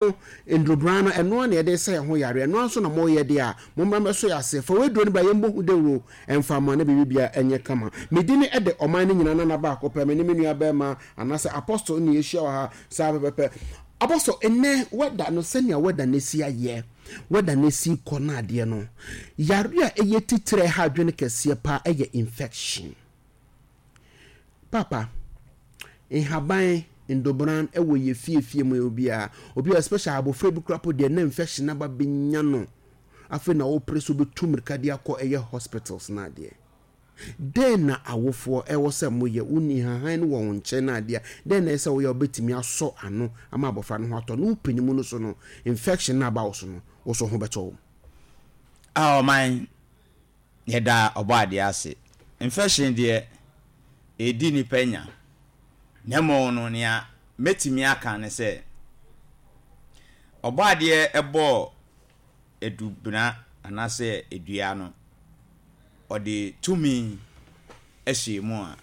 No, ndurobran no, ɛno ara na yɛde resa yɛn ho yareɛ, ɛno ara nso na moreyɛ deɛ a, mommra mmɛsɔ yɛn ase. Fa w'aduro no bra, yɛmmɔ ho dawuro mfa mma na biribiara nyɛ kama. Me din de ɔman no nyinaa nana baako pɛ, me ne me nua barima anaasɛ Apostle na yɛahyia wɔ ha saa pɛpɛpɛ. Apostle, nnɛ weather no, sɛnea weather no asi ayɛ, weather no asi kɔ no adeɛ no, yareɛ a ɛyɛ titire a ɛha adwene kɛseɛ paa yɛ infection. Paapa, nhaban, ndobran wɔ yɛ fie fie mu obiara. Obi a especially abofra bi koraa po deɛ na infection aba bɛnya no. Afei na wopere so bɛtu mmirika de akɔ ɛyɛ hospitals no adeɛ. Dɛn na awofoɔ ɛwɔ sɛ moyɛ? Wonni nhahan no wɔ wo nkyɛn no adeɛ a, dɛn na ɛsɛ sɛ woyɛ a wobɛtumi asɔ ano ama abɔfra no ho atɔ no? Wo panin mu no so no, infection no aba wo so no, wo so ho bɛtɔ wo. Ah ɔman Yɛda Ɔbɔadeɛ ase. Infection deɛ, ɛredi nnipa nya. Na mmom no, nea mɛtumi aka ne sɛ, Ɔbɔadeɛ bɔɔ adubena anaasɛ dua no, ɔde tumi hyɛɛ mu a,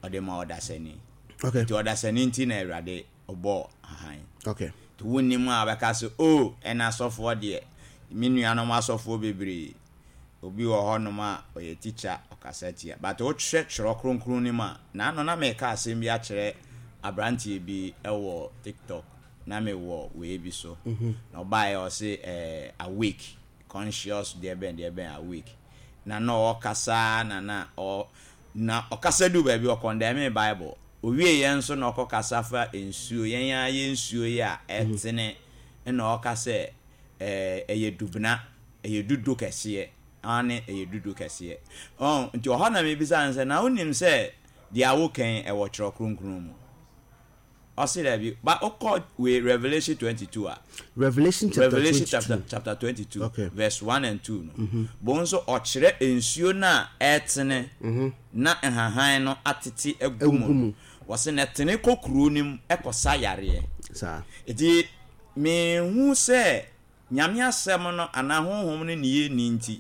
ɔde ma ɔdasani. Okay. Nti ɔdasani nti na Awurade ɔbɔɔ ahan. Okay. Nti wonnim a bɛka sɛ, oh, ɛna asɔfoɔ deɛ, me nuanom asɔfoɔ bebree, obi wɔ hɔnom a ɔyɛ tikya, ɔkasa tia. But wohwɛ twerɛ kronkron no mu a, naano na meka asɛm bi akyerɛ aberanteɛ bi wɔ TikTok, na mewɔ wei bi so. Na ɔbaeɛ ɔse eh, awake, conscious deɛ bɛn deɛ bɛn awake. Na na ɔkasa na na ɔ Na ɔkasa duu baabi, ɔkɔndɛmee Bible. Owieeɛ nso na ɔkɔkasa fa nsuo, yɛn ara yɛn nsuo yi a ɛtene, ɛna ɔka sɛ ɛɛ ɛyɛ dubena, ɛyɛ dudo kɛseɛ. Aane, ɛyɛ dudo kɛseɛ. Ɔn, nti ɔhɔ na mebisa no sɛ, na wonim sɛ deɛ woka yi ɛwɔ Twerɛ Kronkron mu? Ɔse daabi, ba wokɔ wei Revelation 22 a. Revelation chapter Revelation 22. chapter, chapter 22 okay. verse 1 and 2 no. Mm -hmm. Bo nso ɔkyerɛ nsuo no a ɛtene mm -hmm. na nhahan no atete agu mu no. Wɔse na ɛtene kɔ kuro no mu ɛkɔsa yareɛ. Saa. Eti mehu sɛ Nyame asɛm no anaa honhom no ne yɛnni nti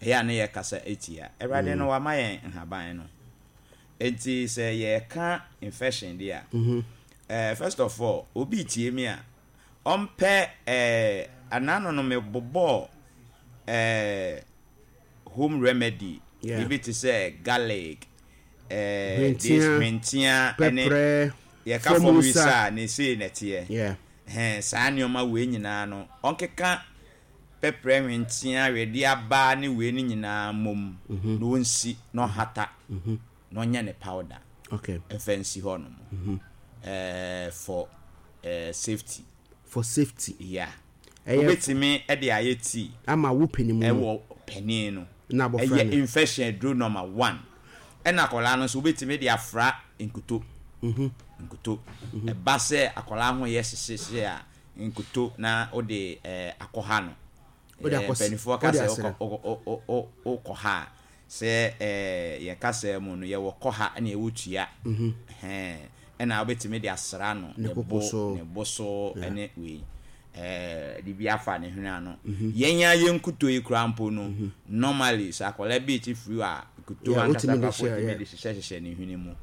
ɛyɛ a ne yɛkasa etia. Awurade no wama yɛn nhaban no. Enti sɛ yɛreka infection deɛ a, eh, first of all, obi retie me a, ɔmpɛ eh, anano no mebobɔɔ eh, home remedy Yeah. biribi te sɛ garlic, eh, this Hwentia, hwentia ɛne pɛprɛ, yɛka fam fam wisa nsa. a ne sei na ɛteɛ. Yeah. Hɛn, saa nneɛma wei nyinaa no, ɔnkeka pɛprɛ, hwenteaa, wedeɛ aba ne wei no nyinaa mmom na ɔnsi na ɔhata na ɔnyɛ ne powder Okay. mfa nsi hɔ nom eh, for eh, safety. For safety. Yeah. Ɛyɛ Wobɛtumi de ayɛ tea ama wo panin mu no. ɛwɔ panin no. Na abɔfra Ɛyɛ no. infection aduro number one. Ɛna akwadaa no nso wobɛtumi de afra nkuto. Nkuto. Ɛba sɛ akwadaa ho yɛ hyehyehye a, nkuto na wode akɔha no. Wode akɔ Mpanimfoɔ ka wode sɛ asra. wokɔha a, sɛ yɛn kasa mu no yɛwɔ kɔha ɛna yɛwɔ tua. Ɛhɛn, ɛna wobɛtumi de asra no Ne ne koko bo, so. ne bo so ɛne wei. De bi afa ne hwene ano. Yɛn ara yɛn nkuto yi koraa mpo no, normally sɛ akwadaa bi rete firi hɔ a, nkuto Yeah, ankasa wotumi de koraa mpo hyɛ, wotumi yeah. de hyehyɛhyehyɛ ne hwene mu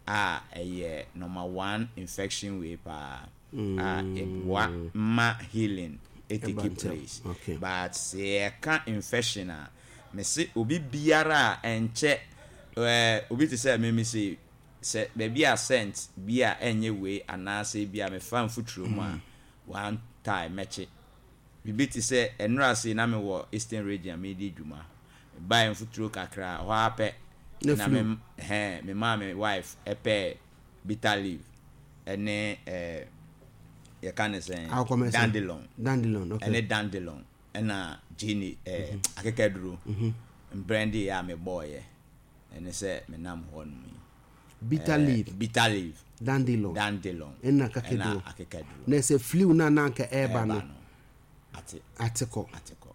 a ɛyɛ number one infection wei paa. a ɛboa ma healing take place but sɛ yɛka infection a mese obi biara a ɛnkyɛ ɛɛ obi te sɛ me mese sɛ baabi a scent bi a ɛnyɛ wei anaasɛ bi a mefa mfuturo mu a one time mɛkye biribi te sɛ ɛnora sei na mewɔ eastern region a medi dwuma mebaeɛ mfuturo kakra hɔ ara pɛ na me hɛn me maa me wife ɛpɛɛ bitter leaf ɛne ɛɛ yɛka ne sɛn dandelion dandelion okay ɛne dandelion ɛna gini ɛɛ mhm. akekaduro mhm. mbrɛnde yɛ a mebɔɔyɛ ɛne sɛ menam hɔ nom yi bitter leaf bitter leaf dandelion dandelion ɛna akekaduro ɛna akekaduro na ɛsɛ flew na na anka ɛɛba no ate ate kɔ ate kɔ.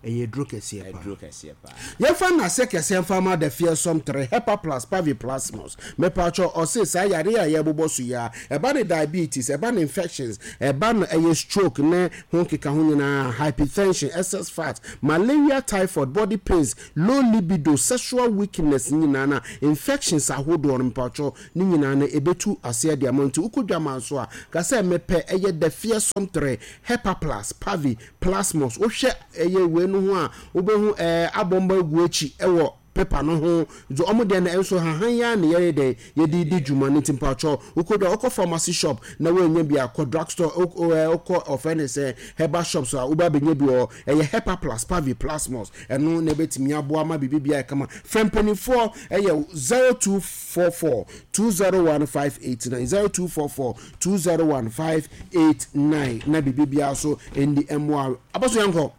Ɛyɛ aduro kɛseɛ paa. Aduro kɛseɛ paa. Yɛmfa nnase kɛseɛ mfa ma The Fearsome 3, Hepa Plus, Paviplasmus. Mepakyɛw, ɔse saa yareɛ a yɛrebobɔ so yi ara, ɛba no diabetes, ɛba no infections, ɛba no ɛyɛ stroke ne ho nkekaho nyinaa, hypertension, excess fat, malaria, typhoid, body pains, low libido, sexual weakness nyinaa na infections ahodoɔ no mepakyɛw ne nyinaa no ɛbɛtu aseɛ de ama wo. Nti wokɔ dwaman so a, ka sɛ mepɛ ɛyɛ The Fearsome 3, Hepa Plus, Pavi, Plasmos, wohwɛ ɛyɛ wei no ho a, wobɛhu ɛɛ abɔmba agu akyi ɛwɔ paper no ho. Nti ɔmo deɛ no ɛnso hahan yi ara na yɛyɛ dɛn yɛde di dwuma no. Nti mpakyɛw wokɔ dwa, wokɔ pharmacy shop na woannya bi a, kɔ drug store, wokɔ ɔfrɛ ne sɛ herbal shops a wobɛ abɛnya bi wɔ hɔ. Ɛyɛ Hepa Plus, Pavi, Plasmos. Ɛno na ɛbɛtumi aboa ma biribi biara ayɛ kama. Frɛ mpanimfoɔ ɛyɛ 0244 201 589, 0244 201589 na biribi biara so ndi mmoa abɔso yɛnkɔ.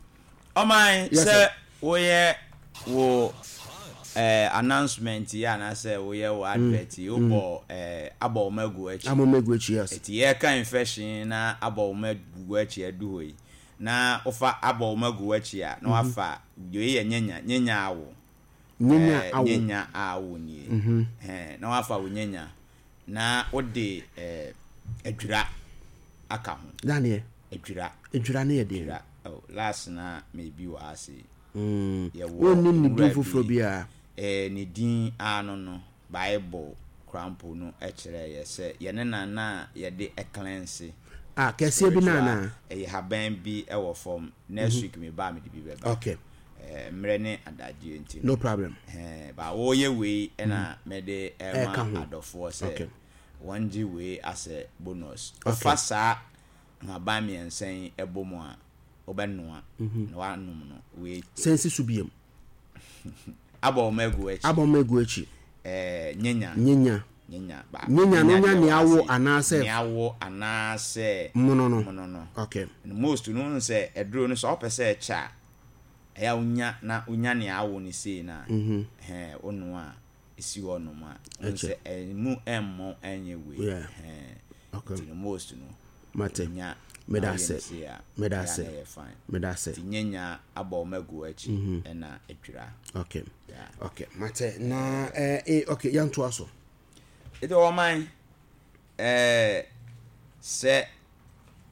Ɔman Yes sɛ sir. woyɛ wo eh, announcement yi anaasɛ woyɛ wo advert yi wobɔ eh, abɔ wo ma agu akyi. Abɔ ma agu akyi yes. Eti yɛka infection na abɔ wo ma agu akyi adu hɔ yi na wofa abɔ wo ma agu akyi a na wafa wei yɛ nyanya nyanya awo. Nyanya Eh, awo. Nyanya awo nie. Ɛhɛn, na wafa wo nyanya. Na wode eh, adwira aka ho. Daneɛ. Adwira. Adwira ne yɛ deɛ. Adwira. Oh, last na maybe wɔ ha se. Yɛwɔ Wonnim ne din nwura foforɔ bi. biara. Eh, ne din ano no, Bible koraa mpo no kyerɛ yɛ sɛ yɛne na na yɛde cleanse. Ah, kɛseɛ bi na anaa? Ɛyɛ haban bi wɔ fam. Next week me ba mede bi bɛba. Okay. Eh, mmerɛ ne adagyeɛ nti No problem. Eh, ba wɔyɛ wei ɛna mede Ɛka ɛma ho. adɔfoɔ sɛ Okay. wɔn gye wei asɛ bonus. Okay. Wofa saa nhaban mmiɛnsa yi ɛbɔ mu a, wobɛnoa na wanom no wei. Sɛnsi so biem. Abɔ wɔn agu akyi. Abɔ wɔn agu akyi. Eh, nyenya. Nyenya. Nyenya ba. Nyenya no nya deɛ nea wɔ awo ase. anaasɛ. Nea awo anaasɛ. Mono no. Mono no. Okay. Most no n sɛ ɛduro no sɛ ɔpɛ sɛ ɛkyɛ a, ɛyɛ a wonya na wonya nea awo no sei na ɛhɛn wonoa a esi hɔ nom a wohu sɛ ɛmu ɛmmɔ ɛnyɛ wei. Yeah. Ɛhɛn. Okay. Nti no most no. Mate. Nya Meda na woyɛ ase. no sei a, Meda ɛyɛ a ase. na ɛyɛ fine. Meda ase. Nti nyenya abɔ wɔn agu akyi ɛna adwira. Okay. Yeah. Okay. Mate. Na eh, eh okay, yɛntoa so. Nti ɔman ɛɛ sɛ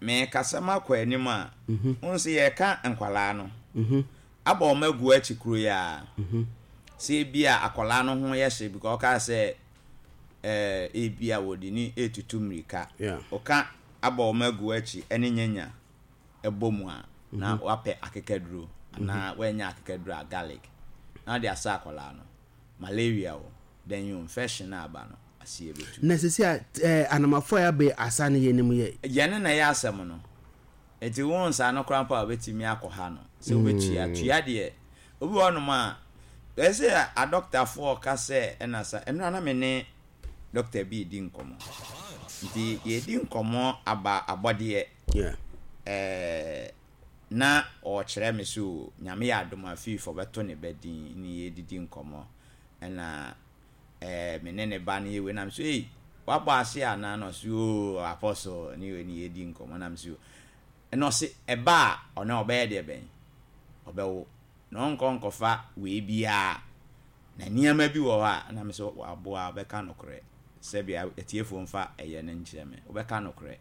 mekasa makɔ anim a, wohu sɛ yɛka nkwalaa no abɔ wɔn agu akyi kuro yi a, sɛ ebi a akwalaa no ho yɛ hye because ɔka sɛ ɛɛ ebi a wɔde ne etutu mmirika. Yeah. Ɔka abɔ wɔn agu akyi ɛne nyanya ɛbɔ mu a, na wapɛ akekaduro anaa wanya akekaduro a garlic na ɔde asa akwalaa no. Malaria o, then you infection na aba no aseɛ bɛtu. Na sisi a eh, anamafo a yɛabɛ asa no yɛ nim yɛ. Yɛne na ɛyɛ asɛm no. Nti wo nsa no koraa mpo a wobɛtumi akɔ ha no sɛ wobɛtua. Tua deɛ, obi wɔ hɔnom a, ɛyɛ sɛ adɔktafoɔ ka sɛ ɛna sa, ɛno na me ne dɔkta bi redi nkɔmmɔ. Nti yɛredi nkɔmmɔ aba abɔdeɛ. Yeah. Ɛɛ, na ɔrekyerɛ me so Nyame yɛ adom a fiifo ɔbɛto ne ba din ne yɛdidi nkɔmmɔ. Ɛna ɛɛ me ne ne ba no yɛ wei na me so ei wabɔ ase anaa na ɔse oo apostle ne wei ne yɛdi nkɔmmɔ na me so ɛna ɔse ɛba a ɔno ɔbɛyɛ deɛ bɛn ɔbɛwo na ɔnkɔ nkɔfa wei biara na nneɛma bi wɔ hɔ a na me so waboa ɔbɛka nokorɛ sɛbi atiefoɔ mfa ɛyɛ no nkyerɛ me wobɛka nokorɛ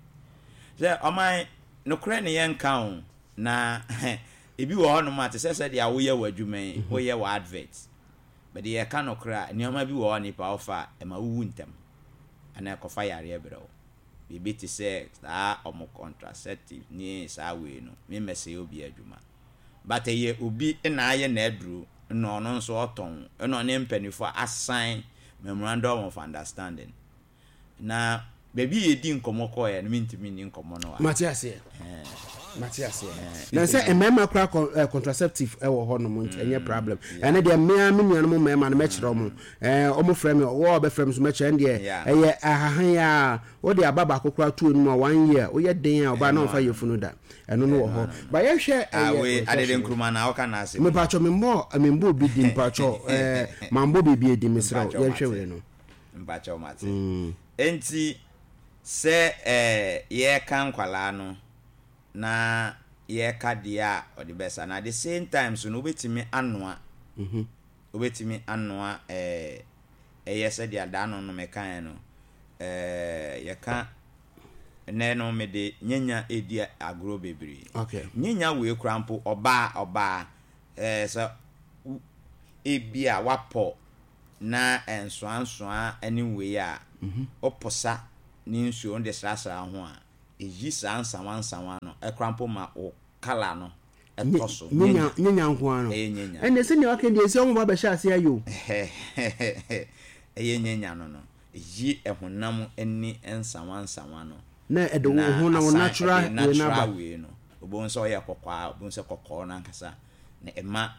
sɛ ɔman nokorɛ ne yɛnka o na ebi wɔ hɔnom a te sɛ sɛdeɛ woyɛ wɔ adwuma yi woyɛ wɔ advert bɛde yɛka nokorɛ a nneɛma bi wɔ hɔ nipa wofa a ɛma wowu ntɛm anaa ɛkɔfa yareɛ brɛ wo biribi te sɛ saa ɔmo contraceptive ne saa wei no memmɛsɛe obi adwuma but ɛyɛ obi na ayɛ n'aduro na ɔno nso ɔtɔn ɛna ɔne mpanimfoɔ asan memorandum of understanding na baabi a yɛdi nkɔmmɔ kɔɔɛ no mentumi nni nkɔmmɔ no a Mate aseɛ. Mate aseɛ. Na sɛ mmarima koraa kɔ eh, contraceptive ɛwɔ hɔ nom nti ɛnyɛ problem. Ɛno deɛ mmea me nuanom mmarima no mɛkyerɛ ɔmo. Ɛɛ ɔmo frɛ me ɔwɔ a ɔbɛfrɛ me so mɛkyerɛ ɛno deɛ Yeah. ɛyɛ ahahan a wode aba baako koraa to anim a one year woyɛ den a ɔbaa na ɔmfa yafunu da. Ɛno no wɔ hɔ. Ba yɛnhwɛ Ah, ɛyɛ wei adede infection. nkruma na woka n'asɛm yi. Mepatwɔ memmɔ memmɔ obi din mpatwɔ ɛɛ mambɔ biribi edi mesrɛ wo Mpakyɛw yɛnhwɛ mate. wei no. Mpakyɛw mate. Enti sɛ ɛɛ yɛreka nkwalaa no na Yɛreka deɛ a ɔde bɛsa no at the same time nso no wobɛtumi anoa wobɛtumi anoa ɛɛ ɛyɛ sɛdeɛ da no no mekaeɛ no ɛɛ yɛka nnɛ no mede nyanya ɛredi agorɔ bebree okay. Nyanya wei koraa mpo ɔbaa ɔbaa ɛɛ sɛ ebi a wapɔ na nsoansoa ne wei a woposa ne nsuo no de srasra ho a Eyi saa nsawansawa no koraa mpo ma wo colour no tɔ so. Nyanya nyanya nko ara no. Ɛyɛ nyanya. Ɛnna sɛnea waka deɛ sɛ wɔn ba bɛhyɛ ase ayɛ o. Ɛyɛ nyanya no no. Eyi ɛhonam ani nsawansawa no. Na ɛde wo ho na wo natural wei no aba. Natural wei no. Wobɛhu sɛ ɔyɛ kɔkɔɔ a, wobɛhu sɛ kɔkɔɔ no ankasa na ɛma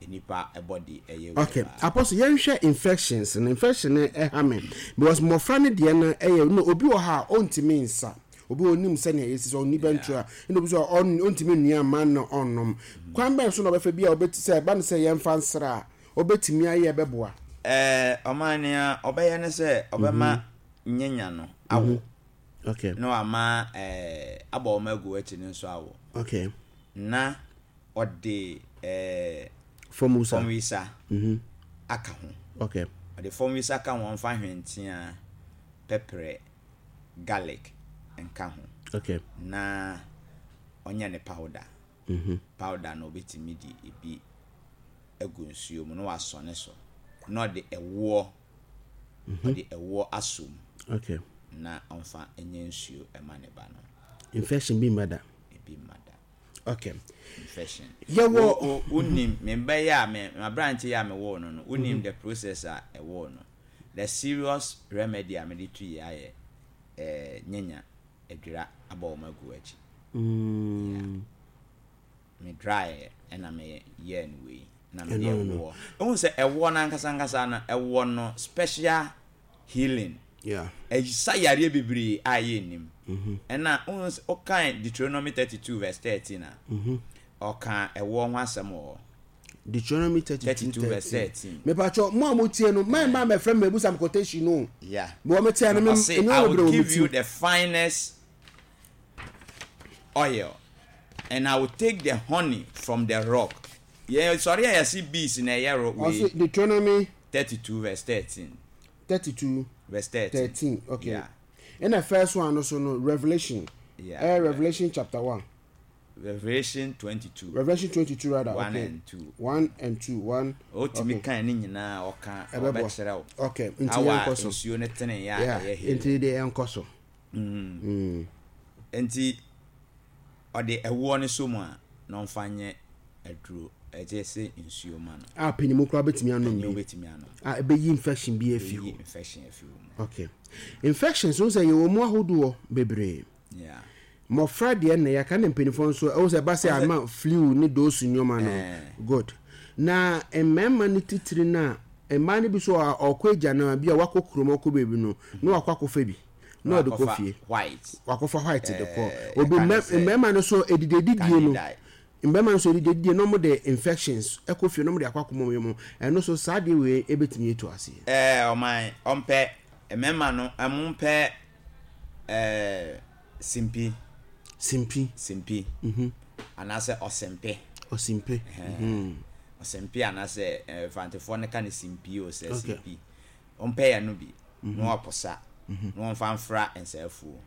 nnipa body yɛ wei Okay, paa. Apostle, yɛnhwɛ infections no. Infection no ɛha me because mmɔfra no deɛ no ɛyɛ no obi wɔ ha a ɔntumi nsa. Obi wɔ onim sɛnea yɛsi sɛ ɔnni bɛntura Yeah. ɛna obi sɛ ɔntumi nnua mma no ɔnnom. Kwan bɛn so na ɔbɛfa bi a ɔbɛti sɛ ɛba no sɛ yɛmfa nsra a ɔbɛtumi ayɛ ɛbɛboa? Ɛɛ, ɔman nea ɔbɛyɛ ne sɛ ɔbɛma nyanya no awo. Okay. Na wama ɛɛ abɔ wɔn agu akyi no nso awo. Okay. Na ɔde ɛɛ Fɔmwisa. fɔmwisa aka ho. Okay. Ɔde fɔmwisa ka ho, ɔmfa hwenteaa, pɛprɛ, garlic nka ho. Okay. Na ɔnyɛ ne powder. Powder no obetumi de ebi agu nsuo mu na wasɔne so. Na ɔde ɛwoɔ, ɔde ɛwoɔ asɔ mu. Okay. Na ɔmfa nyɛ nsuo ɛma ne ba no. Infection bi mma da. Ebi mma da. Okay. Infection. Yɛwɔ. Wo wonim me ba yi a me m'aberante yi a mewoo no no wonim the process a ɛwoo no. The serious remedy a mede tu yi ayɛ eh, nyanya adwira abɔ wɔn agu akyi. Yeah. Me dry ɛna me yɛɛ no wei na mede ɛwoɔ. Wohu sɛ ɛwoɔ no ankasa ankasa no ɛwɔ no special healing. Yeah. Ɛsa yareɛ bebree a yɛnnim. Ɛna wohu sɛ wokan Deuteronomy 32 verse 13 a, ɔka ɛwoɔ ho asɛm wɔ hɔ. Deuteronomy 32 32 verse 13. Mepatwɔ mo a motie no, mɛn mma mɛfrɛ me mɛbusa me quotation no. Yeah. Mewɔ me tia no me Ɔse, nneɛma I bebree will wɔ me give ti. you the finest oil and I will take the honey from the rock. Yɛn sɔre a yɛse bees na ɛyɛ ro wei. Ɔse Deuteronomy 32 verse 13. 32 Verse 13. 13 okay. Yeah. Ɛna first one no so no Revelation. Yeah. Ɛyɛ Revelation chapter 1. Revelation 22. Revelation 22 rather. 1 okay. and 2. 1 and 2. 1. Otumi okay. kan ne nyinaa ɔka Ɛbɛboa. ɔbɛkyerɛ wo. Okay. Nti Awa yɛnkɔ so. nsuo no tene yɛ a Yeah. ɛyɛ healing. Nti deɛ yɛnkɔ so. Nti ɔde ɛwoɔ no sɔ mu a na ɔmfa nyɛ aduro ɛkyɛ sɛ nsuo ma no. A panimu koraa bɛtumi anom Panyin bi. bɛtumi anom. A ɛbɛyi infection bi afi Ɛbɛyi hɔ. infection afi wo mu. Okay. Infections wo sɛ yɛwɔ mu ahodoɔ bebree. Yeah. Mmɔfra deɛ na yɛaka ne mpanimfoɔ nso ɛwɔ sɛ ɛba sɛ ama flu ne dose nneɛma no. Eh. Good. Na mmarima no titiri no a mmaa no bi so a ɔkɔ agya no a bi a wakɔ kurom ɔkɔ baabi no na wakɔ akɔfa bi na ɔde kɔ Wakɔfa fie. white. Wakɔfa white de kɔ. Eh, Obi yɛka ne sɛ mmarima no so edidedidie no. Candida. Mmarima no so edidedidie na wɔn de infections ɛkɔ fie na wɔn de akɔ akɔmɔ wɔn mu. Ɛno so saa deɛ wei ebetumi etu aseɛ. Ɛɛ ɔman ɔmpɛ mmarima no ɛmo mpɛ ɛɛ simpi. Simpi. Simpi. Anaasɛ ɔsempe. Ɔsempe. Ɛhɛn. Ɔsempe anaasɛ ɛɛ fantefoɔ no ka no simpi o sɛ Okay. simpi. Ɔmpɛ yɛ no bi na waposa na wɔmfa mfra nsaafuo.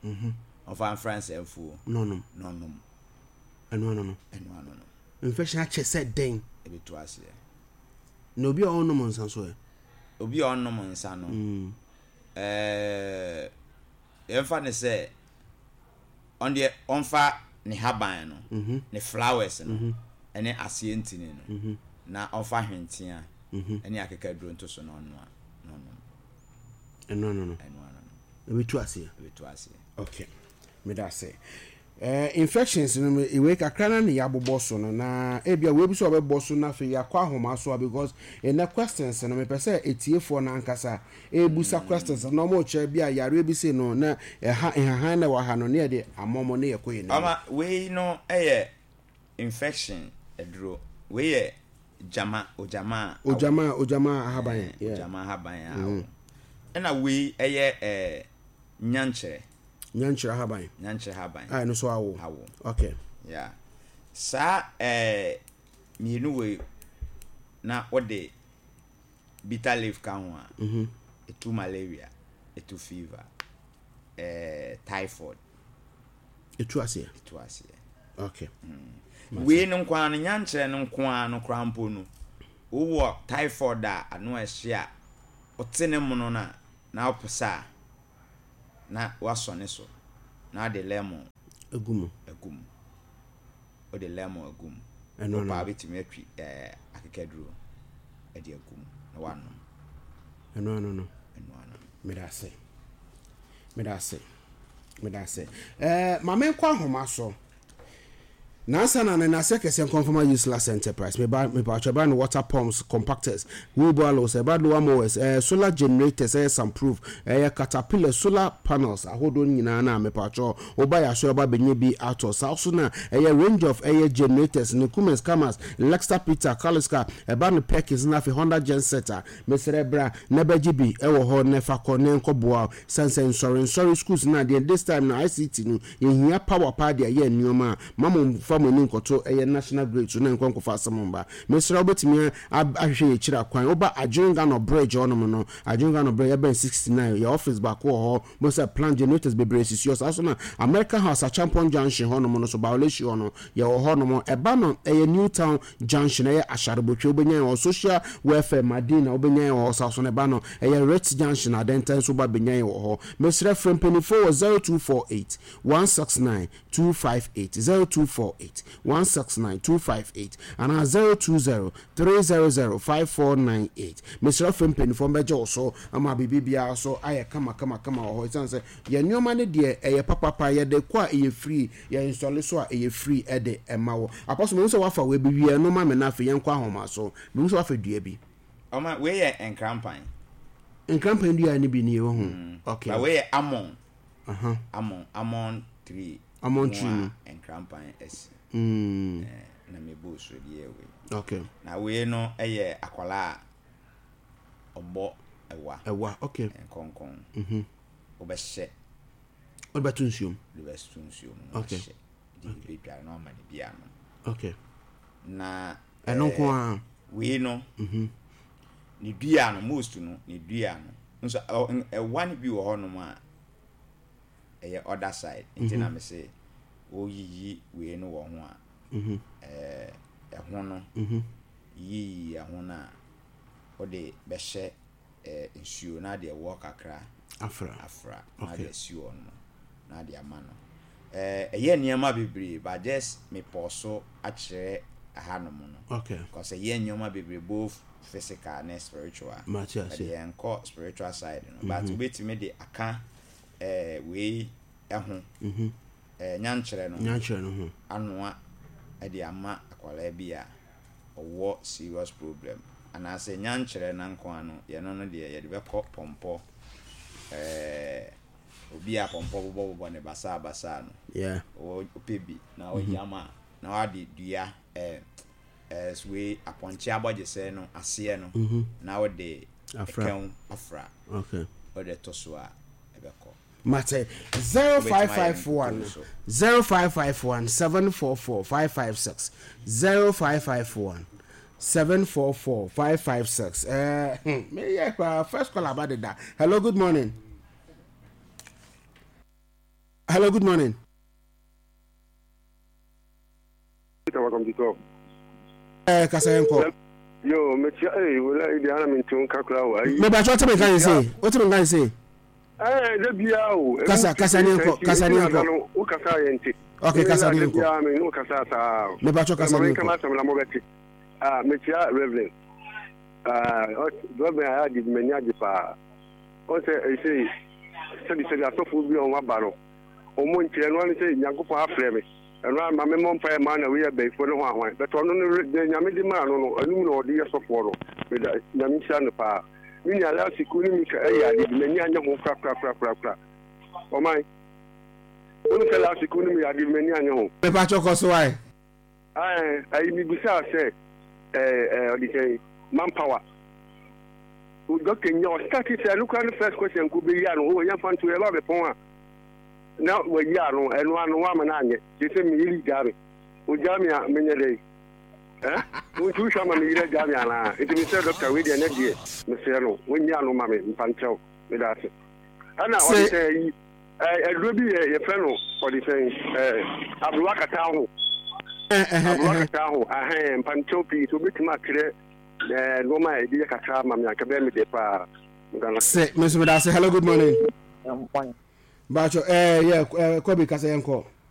Ɔmfa mfra nsaafuo. Na ɔnom. Na ɔnom. Ɛno ano no. Ɛno ano no. Infection akyɛ sɛ dɛn? Ɛbɛtu aseɛ. Na obi a ɔnnom nsa nso ɛ? Obi a ɔnnom nsa no, ɛɛ yɛmfa no sɛ ɔno deɛ ɔmfa ne haban no, ne flowers no, ɛne aseɛ ntini no, na ɔmfa hwentea ɛne akekaduro nto so na ɔnoa na ɔnom. Ɛno ano no. Ɛno ano no. Ɛbɛtu aseɛ. Ɛbɛtu aseɛ. Okay. Meda ase. Eh, infections no wei kakra na ne yɛabobɔ so no na ebia wei bi so ɔbɛbɔ so na afei yɛakɔ ahoma so a because ɛnɛ questions no mepɛ sɛ etiefoɔ no ankasa ebusa questions na ɔmo kyerɛ bi a yareɛ bi sei no na ɛha nhahan na ɛwɔ ha no ne yɛde ama ɔmo ne yɛkɔ yɛn anim. Ɔma wei no yɛ infection aduro. Wei yɛ gyama ogyama a awo. Ogyama ogyama ahaban. Eh, Yeah. Ogyama ahaban a awo. Ɛna wei yɛ eh, nyankyerɛ. Nyankyerɛ ahaban. Nyankyerɛ ahaban. A ɛno nso awo. Awo. Okay. Yeah. Saa ɛɛ mmienu wei na wode bitter leaf ka ho a, ɛtu malaria, ɛtu fever, ɛɛ typhoid. Ɛtu aseɛ. Ɛtu aseɛ. Okay. Wei no nko ara no, nyankyerɛ no nko ara no koraa mpo no, wowɔ typhoid a ano ɛhye a, wote ne mono no a, na wopesa a, na woasɔ ne so, na wode lemon Agu mu. agu mu. Wode lemon agu mu. Ɛno Wopɛ no. a wobɛtumi atwi ɛɛ akekaduro de agu mu na woanom. Ɛno ano no. Ɛno ano. Meda ase. Meda ase. Meda ase. Ɛɛ ma menkɔ ahoma so. Nansa na ne nase kɛseɛ nkɔmfama useless enterprise. Meba mepatwa ɛba no water pumps, compactors, wheelbarrows, ɛba lower mowers, ɛɛ solar generators, ɛyɛ sunproof, ɛyɛ caterpillar solar panels ahodoɔ nyinaa na mepatwa woba yɛ aso ɛba bɛnya bi atɔ. Saa so na ɛyɛ range of ɛyɛ generators ne Cummins, Camas, Lexter Peter, Kaliska, ɛba no Perkins na afei Honda genset a mesrɛ bra na bɛgye bi ɛwɔ hɔ na ɛfa kɔ na ɛnkɔ boa sane sɛ nsɔre nsɔre schools na adeɛ this time na ICT no yɛhia power paa de ayɛ nneɛma a ma mo mfa mo ani nkɔto ɛyɛ national grid so na nkɔ nkɔfa asɛm mba. Mesrɛ wobɛtumi ahwehwɛ yɛ akyiri akwan. Woba Adwengano Bridge hɔnom no, Adwengano Bridge ɛbɛn 69, yɛ office baako wɔ hɔ. Mo sɛ plant generators bebree sisi hɔ. Saa so na America House Achampong Junction hɔnom no so, Bawaleshie hɔ no, yɛwɔ hɔnom. Ɛba no ɛyɛ New Town Junction, ɛyɛ Asharebotwe, wobɛnya yɛn wɔ Social Welfare Madina, wobɛnya yɛn wɔ hɔ. Saa so na ɛba no ɛyɛ Ritz Junction, Adenta nso woba bɛnya yɛn wɔ hɔ. Mesrɛ frɛ mpanimfoɔ wɔ 0248 169 258, 0248 169 258 anaa 020 300 5498. Mesrɛ frɛ mpanimfoɔ mbɛgye wo so ama biribi biara so ayɛ kama kama kama wɔ hɔ. Ɛsiane sɛ yɛn nneɛma no deɛ ɛyɛ papapa, yɛde kɔ a ɛyɛ free, yɛ nsɔle so a ɛyɛ free ɛde ɛma wɔ. Apɔso mehu sɛ wafa wei bi wie ɛno ma me na afei yɛnkɔ ahoma so. Mehu sɛ wafa dua bi. Ɔma wei yɛ nkrampan. Nkrampan dua no bi nie wɔ ho. Okay. Ba wei yɛ almond. Almond almond tree. Almond tree no. Nkrampan asi. Na me bu so de yɛ wei. Okay. Na wei no yɛ akwadaa a ɔbɔ ɛwa. Ɛwa okay. Nkɔnkɔn. Wobɛhyɛ. Wode bɛto nsuom. Wode bɛto nsuom na Okay. wahyɛ. De bi bɛdware na wama ne bi anom. Okay. Na Ɛno nko ara. Wei no. Ne dua no most no ne dua no nso ɛwa no bi wɔ hɔnom a ɛyɛ other side nti na me se woyiyi wei no wɔ ho a ɛho no yiyi ɛho no a wode bɛhyɛ nsuo na ade ɛwoɔ kakra Afra. afra na ade asi hɔ no na ade ama no. Ɛyɛ nneɛma bebree but just mepɔɔ so akyerɛ hanom no. Okay. Because ɛyɛ nneɛma bebree both physical ne spiritual. Mate ase. But yɛnkɔ spiritual side no. But wobɛtumi de aka wei ho. Nyankyerɛ no ho. Nyankyerɛ no ho. Anoa de ama akwadaa bi a ɔwɔ serious problem. Anaasɛ nyankyerɛ no nko ara no, yɛno no deɛ yɛde bɛkɔ pɔmpɔ. Obi a pɔmpɔ bobɔbobɔ ne basaa basaa no. Yeah. Wopɛ bi na ɔyam a na wade dua wei apɔnkye abɔgyesɛ no aseɛ no na wode ɛkɛw afra. Okay. Wode to so a ɛbɛkɔ. Mate 0551 0551 744 556 0551 744 556. Me yeah, first call about that. Hello, good morning. Hello, good morning. Welcome to talk. Kasa yɛn kɔ. Yo, metia eh wala ibi ana mintu kakra wa. Me ba cho teme kan se. O teme kan se. Eh, da bia o. Kasa kasa ni nko, kasa ni nko. Wo kasa yɛn ti. Okay, kasa ni nko. Da bia me no kasa saa. Me ba cho kasa ni nko. Kama asɛm na mo bɛte. Ah, metia Reverend. Ah, Reverend ayɛ ade m'ani agye paa. Ɔn sɛ ɛsɛ sɛbi sɛbi asɔfoɔ bi a wɔn aba no, wɔn nkyerɛ no ano sɛ Nyankopɔn afrɛ me. Ɛno ara ma memmɔ mpaeɛ mmaa na wei yɛ bayifoɔ ne hwan hwan. But ɔno no deɛ Nyame de maa no no, ɛno mu na ɔde yɛ sɔfoɔ no. Meda Nyame nhyira no paa. Me nua last week wo ne Mika ɛyɛ ade bi, m'ani anyɛ ho korakorakorakorakora. Ɔman, wonim sɛ last week wo ne me yɛ ade bi, m'ani anyɛ ho. Mepakyɛw kɔ so wae. Ae, ayi mebisaa sɛ ɛɛ ɛɛ ɔde sɛn manpower. Doctor nya ɔstarte sɛ ɛno koraa ne first question nko bɛyi ano, oh yɛmfa nto yɛba abɛpɔn a. na wayi ano, ɛno ano woama no anyɛ. Seesei me yere gyaa me. Ogyaa me a, menyɛ dɛn? Eh? Wo nti wohwɛ ama me yere agyaa me anaa? Nti mesrɛ dɔkta wei deɛ ɛnɛ deɛ mesrɛ no wɔnyi ano ma me mfa nkyɛw. Meda ase. Ɛna ɔde sɛ ayi aduro bi yɛ yɛfrɛ no ɔde sɛn aberewa kata ho. Aberewa kata ho ahɛn mfa nkyɛw pii sɛ wobɛtumi akyerɛ nneɛma a ɛde yɛ kakra ama me anka bɛyɛ me dɛ paa. Se me nso meda ase. Hello, good morning. Bacho, eh, yeah, eh, Kobe kasa yɛnkɔ.